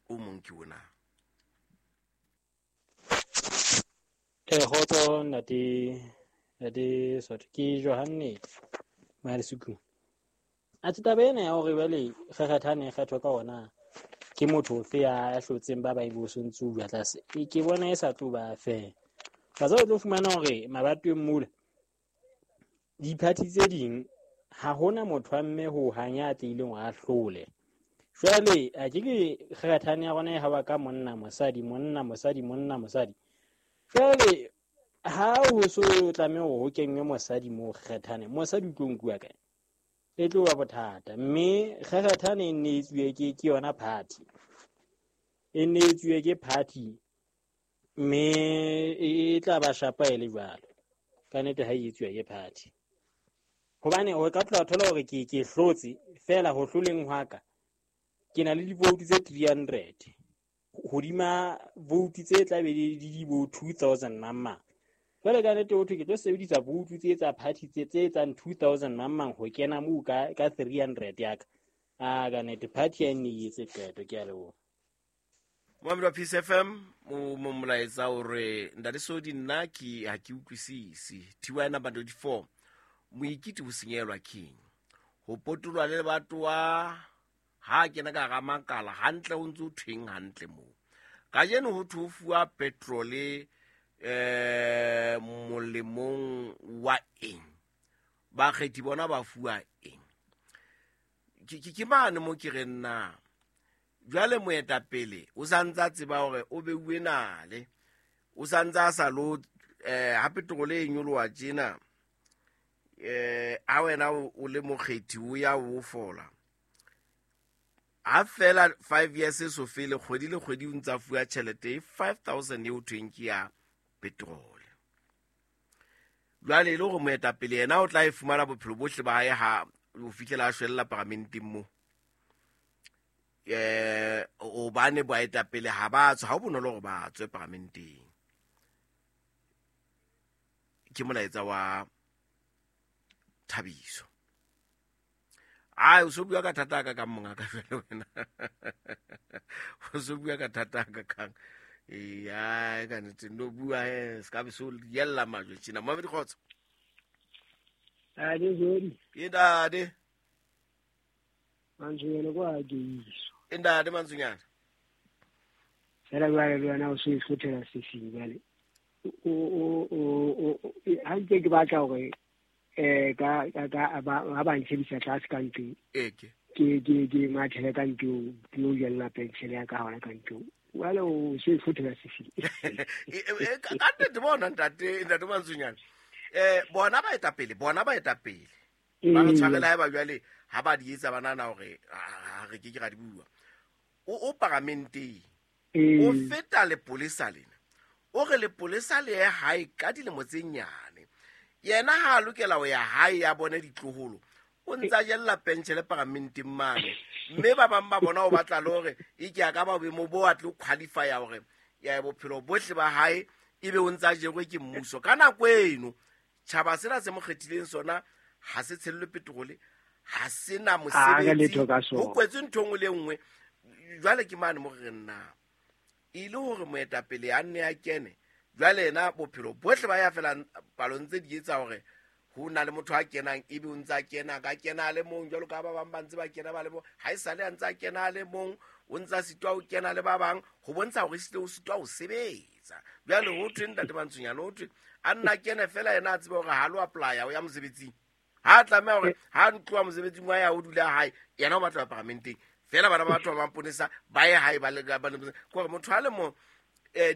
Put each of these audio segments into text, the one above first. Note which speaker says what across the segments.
Speaker 1: O mong ke ona.
Speaker 2: Kgotso ntate, ntate Sotho, ke Johanne Mahalesuku. Atjhe, taba ena ya hore jwale kgekgethane e kgethwa ka ona ke motho ofe ya hlotseng ba bang bo sontse o bua tlase, ke bona e sa tlo ba fair. Ka o tlo fumana hore mabatoweng mola diphathi tse ding ha hona motho wa mme ho hang ya tlileng hore a hlole. Jwale a ke ke kgekgethane ya rona e hawa ka monna mosadi, monna mosadi, monna mosadi. Jwale ha ho so tlameha hore ho kenngwe mosadi moo kgekgethane, mosadi o tlo nkuwa kae? E tlo ba bothata. Mme kgekgethane e nne e tsuwe ke yona party. E nne e tsuwe ke party, mme e tla ba shapa e le jwalo. Ka nnete ha e etsuwa ke party. Hobane o ka tloha thola hore ke hlotse feela ho hloleng hwa ka. Ke na le di-vote tse 300. Hodima vote tse tla be di di bo 2000 mang mang. Jwale ka nnete ho thwe ke tlo sebedisa vote tse tsa party tse etsang 2000 mang mang ho kena moo ka 300 ya ka. A ka nnete party ya nne e etse qeto, ke a leboha.
Speaker 1: Moamedi wa Peace FM, o mo molaetsa hore ntate Sodi nna ke ha ke utlwisise. TY number 24, moikiti ho senyelwa keng? Ho potolwa le lebatowa ha kena ka hara makala hantle ho ntse ho thweng hantle moo. Kajeno ho thwe ho fuwa petrole molemong wa eng? Bakgethi bona ba fuwa eng? Ke mane mo ke reng na? Jwale moetapele o sa ntse a tseba hore o beuwe nale, o sa ntse a sa lo, ha petrole e nyoloha tjena, ha wena o le mokgethi o ya o fola. Ha fela 5 years e so fele, kgwedi le kgwedi o ntse a fuwa tjhelete e 5000 eo thweng ke ya petrole. Jwale e le hore moetapele yena o tla e fumana bophelo bohle ba hae ha ho fihlela a shwella paramenteng moo. Hobane baetapele ha ba tswe, ha ho bonolo hore ba tswe paramenteng. Ke molaetsa wa Thabiso. Ai, o so bua ka thata ka kang monga ka jwale wena. O so bua ka thata ka kang. Ee, ai, ka nnete, no bua he, se ka be so yella majwe tjena. Mohammed Kgotso.
Speaker 3: Ade, Zodi.
Speaker 1: Ke ntate.
Speaker 3: Mantsonyana kwa ke iso.
Speaker 1: E ntate Mantsonyana.
Speaker 3: Fela jwale le wena o so e hlothela sefing jwale. Ha ntse ke batla hore, ka, ba, ha ba ntshebisa tlase ka ntlong.
Speaker 1: Eke.
Speaker 3: Ke mathele ka ntlong, ke yo jella penshele ya ka hona ka ntlong. Jwale o so e hlothela sefing.
Speaker 1: Ka nnete bona ntate, ntate Mantsonyana. Bona baetapele, bona baetapele. Ba re tshwarela haeba jwale ha ba di etsa ba nahana hore, ha re ke ke ra di bua. O paramenteng. O feta lepolesa lena. O re lepolesa le ye hae ka dilemo tse nyane. Yena ha a lokela ho ya hae ya bone ditloholo, o ntse a jella pentjhele paramenteng mane. Mme ba bang ba bona o batla le hore e ke a ka ba boemo bo a tlo qualify-a hore ya bophelo bohle ba hae ebe o ntse a jerwe ke mmuso. Ka nako eno, tjhaba sena se mo kgethileng sona ha se tshellwe petrole, ha se na
Speaker 3: Ha re
Speaker 1: mosebetsi,
Speaker 3: letho ka sona.
Speaker 1: ho kwetswe ntho e nngwe le e nngwe. Jwale ke mane mo re reng na? E le hore moetapele a nne a kene, jwale yena bophelo bohle ba ya fela palong tse di etsa hore ho na le motho a kenang, ebe o ntse a kena, ka kena a le mong, jwalo ka ba bang ba ntse ba kena ba le mong. Ha e sale a ntse a kena a le mong, o ntse a sitwa ho kena le ba bang, ho bontsha hore ehlile o sitwa ho sebetsa. Jwale ho thwe ntate Mantsonyana, ho thwe a nna a kene fela yena a tsebe hore ha lo apply-a ho ya mosebetsing. Ha a tlameha hore ha a tloha mosebetsing wa ya ho dula hae, yena o batla ho ya paramenteng. Fela bana ba batho ba maponesa ba ye hae ba le ka, ba le mosebetsing. Ke hore motho a le mong,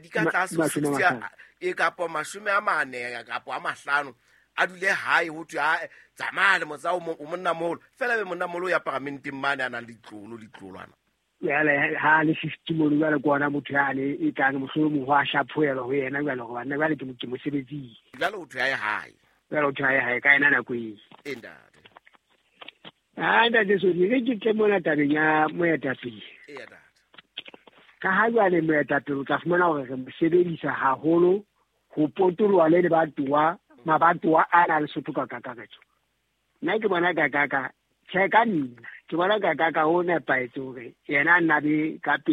Speaker 1: di ka tlase ho
Speaker 3: Mashome a
Speaker 1: sixty,
Speaker 3: mahlano.
Speaker 1: kapa mashome a mane, kapa a mahlano, a dule hae ho thwe, ha, tsamaya le motsa o monna moholo. Fela be monna moholo o ya paramenteng mane a nang le ditlolo, ditlolwana.
Speaker 3: Jwale ha le 50 mono, jwale ke ona motho yane e tlang mohlomong ho a hlaphohelwa ho yena jwale hore banna jwale ke mosebetsing.
Speaker 1: Jwale ho thwe ha e hae.
Speaker 3: Jwale ho thwe ha e hae ka yena nako eo.
Speaker 1: E ntate.
Speaker 3: Ha, ntate Sodi, re ke tle mona tabeng ya moetapele.
Speaker 1: Eya, ntate.
Speaker 3: Ka ha jwale moetapele o tla fumana hore re mo sebedisa haholo ho potoloha le lebatowa, mabatowa a na le Sotho ka kakaretso. Nna ke bona ka ka ka, tjhe ka nna, ke bona ka ka ka ho nepahetse hore yena a nna be ka pele.